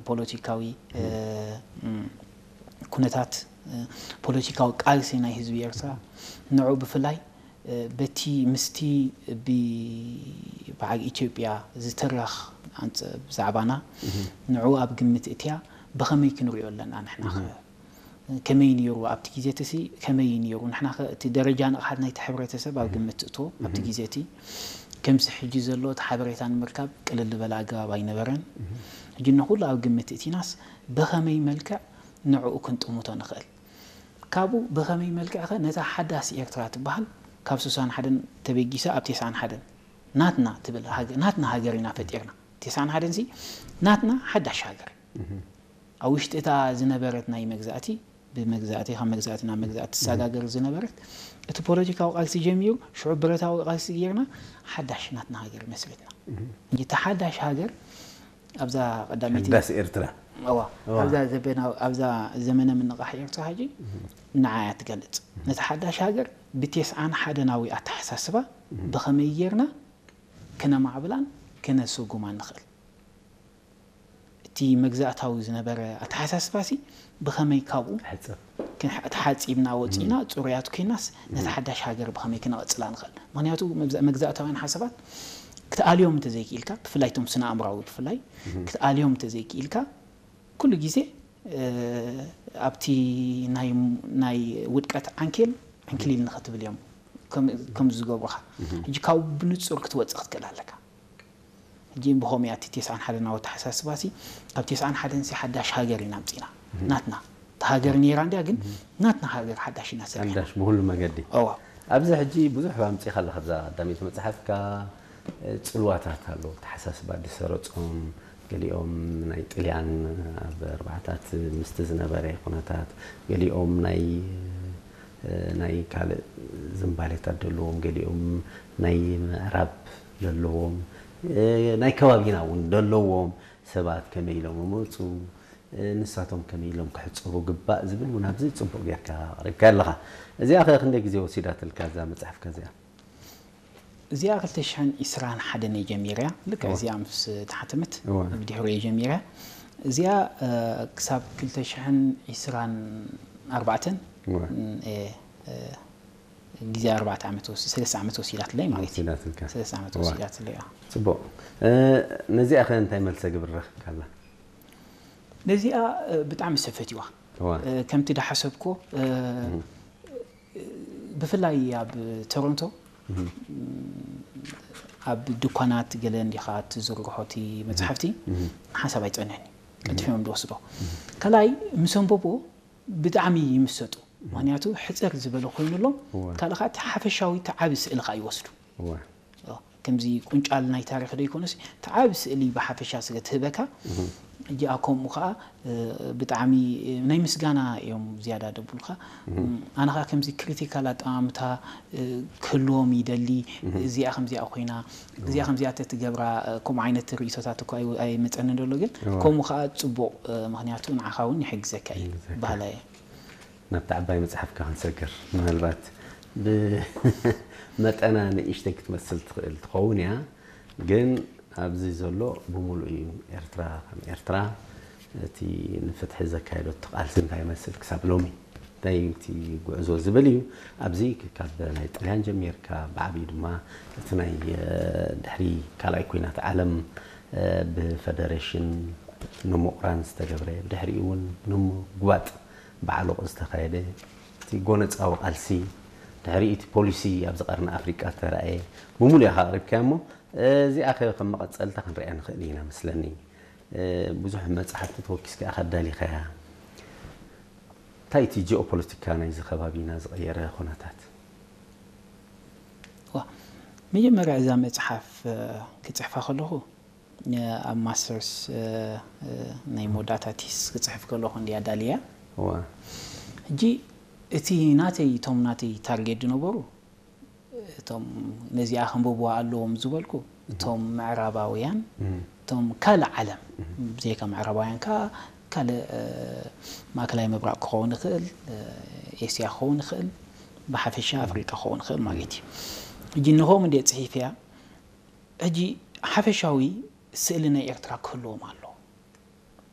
ፖለቲካዊ ኩነታት፣ ፖለቲካዊ ቃልሲ ናይ ህዝቢ ኤርትራ፣ ንዑ ብፍላይ በቲ ምስቲ ብበዓል ኢትዮጵያ ዝተረኽ ብዛዕባና ንዑ ኣብ ግምት እትያ ብኸመይ ክንሪኦ ኣለና ንሕና ከ ከመይ ነይሩ ኣብቲ ግዜ እቲ ሲ ከመይ ነይሩ ንሕና ከ እቲ ደረጃ ንቕሓት ናይቲ ሕብረተሰብ ኣብ ግምት ትእቶ ኣብቲ ግዜ እቲ ከምዚ ሕጂ ዘሎ እቲ ሓበሬታ ንምርካብ ቅልል ዝበለ ኣገባብ ኣይነበረን። ሕጂ ንኹሉ ኣብ ግምት እቲናስ ብኸመይ መልክዕ ንዕኡ ክንጥምቶ ንኽእል? ካብኡ ብኸመይ መልክዕ ኸ ነታ ሓዳስ ኤርትራ ትበሃል ካብ ስሳን ሓደን ተበጊሳ ኣብ ተስዓን ሓደን ናትና ትብል ናትና ሃገር ኢና ፈጢርና። ተስዓን ሓደን ሲ ናትና ሓዳሽ ሃገር ኣብ ውሽጢ እታ ዝነበረት ናይ መግዛእቲ ብመግዛእቲ ካብ መግዛእቲ ናብ መግዛእቲ ትሰጋገር ዝነበረት እቲ ፖለቲካዊ ቃልሲ ጀሚሩ ሽዑ ብረታዊ ቃልሲ ጌርና ሓዳሽ ናትና ሃገር መስሪትና። ሕጂ እታ ሓዳሽ ሃገር ኣብዛ ቀዳመይቲ ሓዳስ ኤርትራ እዋ እዋ። ኣብዛ ዘበናዊ ኣብዛ ዘመነ ምንቃሕ ኤርትራ ሕጂ ንዓያ ትገልጽ። ነቲ ሓዳሽ ሃገር ብቴስዓን ሓደናዊ ኣተሓሳስባ ብኸመይ ጌርና ክነማዕብላን ክነስጉማን ንኽእል? እቲ መግዛእታዊ ዝነበረ ኣተሓሳስባሲ ብኸመይ ካብኡ ክሕጸብ ተሓጺብና ወጺእና ጽሩያት ኮይናስ ነቲ ሓዳሽ ሃገር ብኸመይ ክነቐጽላ ንኽእል? ምኽንያቱ መግዛእታውያን ሓሳባት ክትኣልዮም እንተዘይክኢልካ ብፍላይ እቶም ስነ ኣእምራዊ ብፍላይ ክትኣልዮም እንተዘይክኢልካ ኩሉ ግዜ ኣብቲ ናይ ውድቀት ዓንኬል ዕንክሊል ንኽትብል እዮም ከምዚ ዝገብሩኻ። ሕጂ ካብኡ ብንጹር ክትወጽእ ክትክእል ኣለካ። ሕጂ ብኸምኡ እያ እቲ ተስዓን ሓደን ኣተሓሳስባ ሲ ካብ ተስዓን ሓደን ሲ ሓዳሽ ሃገር ኢና ኣምጺና ናትና እታ ሃገር ነይራ እንድያ ግን ናትና ሃገር ሓዳሽ ኢና ሰሪሕና ሓዳሽ ብኹሉ መገዲ እዋ ኣብዚ ሕጂ ብዙሕ ኣምጺኻ ኣለኻ ኣብዛ ቀዳመይቲ መጽሓፍካ ጽልዋታት ኣለዉ ተሓሳስባ ዝሰረጾም ገሊኦም ናይ ጥልያን ኣብ ኣርባዓታት ምስቲ ዝነበረ ኩነታት ገሊኦም ናይ ናይ ካልእ ዝንባሌታት ዘለዎም ገሊኦም ናይ ምዕራብ ዘለዎም ናይ ከባቢና እውን ዘለዎም ሰባት ከመይ ኢሎም ይመፁ ንሳቶም ከመይ ኢሎም ክሕፀቡ ግባእ ዝብል እውን ኣብዚ ፅቡቅ ጌርካ ኣቅሪብካ ኣለኻ። እዚኣ ከ ክንደይ ግዜ ወሲዳትልካ እዛ መፅሓፍካ እዚኣ? እዚኣ ክልተ ሽሕን ዕስራን ሓደን እየ ጀሚረያ። ልክዕ እዚኣ ምስ ተሓተመት ብድሕሪኡ እየ ጀሚረያ። እዚኣ ክሳብ ክልተ ሽሕን ዕስራን ኣርባዕተን እየ ግዜ ኣርባዕተ ዓመት ወስ ሰለስተ ዓመት ወሲዳትለይ ማለት እዩ። ወሲዳትልካ። ሰለስተ ዓመት እዋ። ወሲዳትለይ። ኣዎ። ጽቡቕ። እ፣ ነዚኣ ኸ እንታይ መልሰ ግብሪ ረኺብካላ? ነዚኣ እ፣ ብጣዕሚ ሰብ ፈትዋ። እዋ። እ፣ ከምቲ ዳሓሰብኮ እ፣ ብፍላይ ኣብ ቶሮንቶ ኣብ ድኳናት ገለ እንዲኻ ትዝርግሖ እቲ መጽሓፍቲ ሓሳብ ኣይጸንሕን እዩ። ቀልጢፎም ዝወስዶ። ካልኣይ ምስ ኣንበብዎ ብጣዕሚ ይምሰጡ። ምኽንያቱ ሕጽር ዝበለ ኮይኑ ኣሎ። እወ። ካልእ ከዓ እቲ ሓፈሻዊ እቲ ዓቢ ስእሊ ከዓ ይወስዱ። እወ። ኦ፣ ከምዚ ቁንጫል ናይ ታሪኽ ዶ ይኮነስ እቲ ዓቢ ስእሊ ብሓፈሻ ስለ ትህበካ። እጅኣ ከምኡ ከዓ እ፣ ብጣዕሚ ናይ ምስጋና እዮም ዝያዳ ደብሉካ። ኣነ ከዓ ከምዚ ክሪቲካል ኣጠማምታ እ፣ ክህልዎም ይደሊ። እዚኣ ከምዚኣ ኮይና እዚኣ ከምዚኣ ተትገብራ እ፣ ከምኡ ዓይነት ርእይቶታት እኮ ኣይ- ኣይመፀንን ዘሎ ግን እወ። ከምኡ ከዓ ፅቡቅ እ፣ ምክንያቱ ንዓኻ እውን ይሕግዘካ እዩ ይሕግዘካ። ባህላ እየ። ናብቲ ዓባይ መጽሓፍካ ክንሰግር ምናልባት ብመጠና ንእሽተይ ክትመስል ትኽእል ትኸውን እያ ግን ኣብዚ ዘሎ ብምሉእ እዩ ኤርትራ ከም ኤርትራ እቲ ንፍትሒ ዘካየደቶ ቃልሲ እንታይ ይመስል ክሳብ ሎሚ እንታይ እዩ እቲ ጉዕዞ ዝብል እዩ ኣብዚ ካብ ናይ ጥልያን ጀሚርካ ብዓብዩ ድማ እቲ ናይ ድሕሪ ካልኣይ ኩናት ዓለም ብፈደሬሽን ንምቑራን ዝተገብረ ብድሕሪኡ እውን ንምጉባጥ ብዓሎቕ ዝተኻየደ እቲ ጎነፃዊ ቃልሲ ድሕሪኡ እቲ ፖሊሲ ኣብዚ ቀርኒ ኣፍሪቃ ዝተረኣየ ብምሉእ ኢኻ ኣቕሪብካዮ እሞ እዚኣ ከ ከም መቐፀልታ ክንሪኣ ንኽእል ኢና መስለኒ ብዙሕ መፅሓፍቲ ተወኪስካ ኢኻ ኣዳሊኻያ እንታይ እቲ ጂኦፖለቲካ ናይዚ ከባቢና ዝቐየረ ኩነታት መጀመርያ እዛ መፅሓፍ ክፅሕፋ ከለኹ ኣብ ማስተርስ ናይ መወዳእታ ቲስ ክፅሕፍ ከለኹ እንድያ ኣዳልያ ሕጂ እቲ ናተይ እቶም ናተይ ታርጌት ዝነበሩ እቶም ነዚኣ ከንብብዋ ኣለዎም ዝበልኩ እቶም ምዕራባውያን እቶም ካልእ ዓለም ብዘይካ ምዕራባውያን ከዓ ካልእ ማእከላይ ምብራቕ ክኸውን ይኽእል ኤስያ ክኸውን ይኽእል ብሓፈሻ ኣፍሪቃ ክኸውን ይኽእል ማለት እዩ ሕጂ ንኸም እንደ ፅሒፍ እያ ሕጂ ሓፈሻዊ ስእሊ ናይ ኤርትራ ክህልዎም ኣሎ